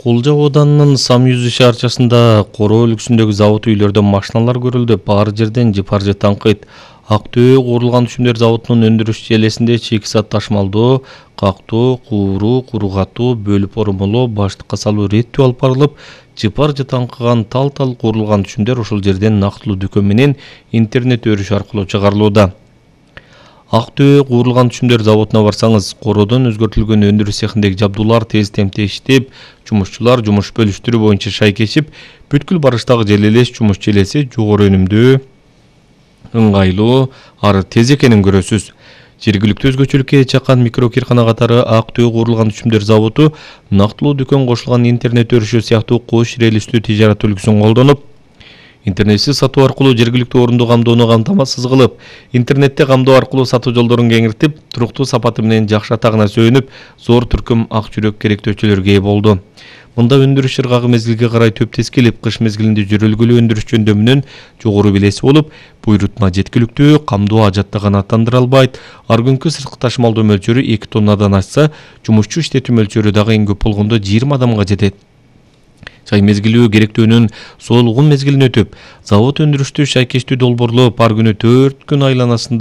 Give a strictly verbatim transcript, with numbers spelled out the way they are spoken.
Кулжа ауданынын Самюзы шаарчасында Коро өлкөсүндөгү завод үйлөрдөн машиналар көрүлдү. Бар жерден жыпар-жы таңкыйт. Актөө куурулган түшүмдөр заводунун өндүрүш желесинде чекисат ташмалдоо, кактоо, кууруу, куругатуу, бөлүп орумолоо, баштыкка салуу реттүү алып барылып, жыпар-жы таңкыган тал-тал куурулган түшүмдөр ошол жерден нактылуу дүкөн менен интернет өрүш аркылуу чыгарылууда. Актөө куурулган түшүмдөр заводуна барсаңыз, Кородон өзгөртүлгөн өндүрүш цехиндеги жабдуулар тез темпте иштеп, жумушчулар жумуш бөлүштүрүү боюнча шай кечип, бүткүл барыштагы желелеш жумуш желеси жогору өнүмдүү, ыңгайлуу, ары тез экенин көрөсүз. Жергиликтүү өзгөчөлүккө чаккан микрокыйркана катары Актөө куурулган түшүмдөр заводу нактылуу дүкөн кошулган интернет өрүшү сыяктуу кош релистүү тижарат үлгүсүн колдонуп, интернетсиз сатуу аркылуу жергиликтүү орунду камдоону камтамасыз кылып, интернетте камдоо аркылуу сатуу жолдорун кеңиртип, туруктуу сапаты менен жакшы атагына сүйөнүп, зор түркүм ак жүрөк керектөөчөлөргө ээ болду. Мында өндүрүш ыргагы мезгилге карай төптес келип, кыш мезгилинде жүрөлгүлүү өндүрүш жөндөмүнөн жогору билеси болуп, буйрутма жеткиликтүү, камдоо ажатта канааттандыра албайт. Ар күнкү сырткы ташмалдоо мөлчөрү эки тоннадан ашса, жумушчу иштетүү мөлчөрү дагы эң көп болгондо жыйырма адамга жетет. Чай мезгилүү керектөөнүн соолугун мезгилин өтүп, завод өндүрүштү шайкештүү долбоорлоп, ар күнү төрт күн айланасында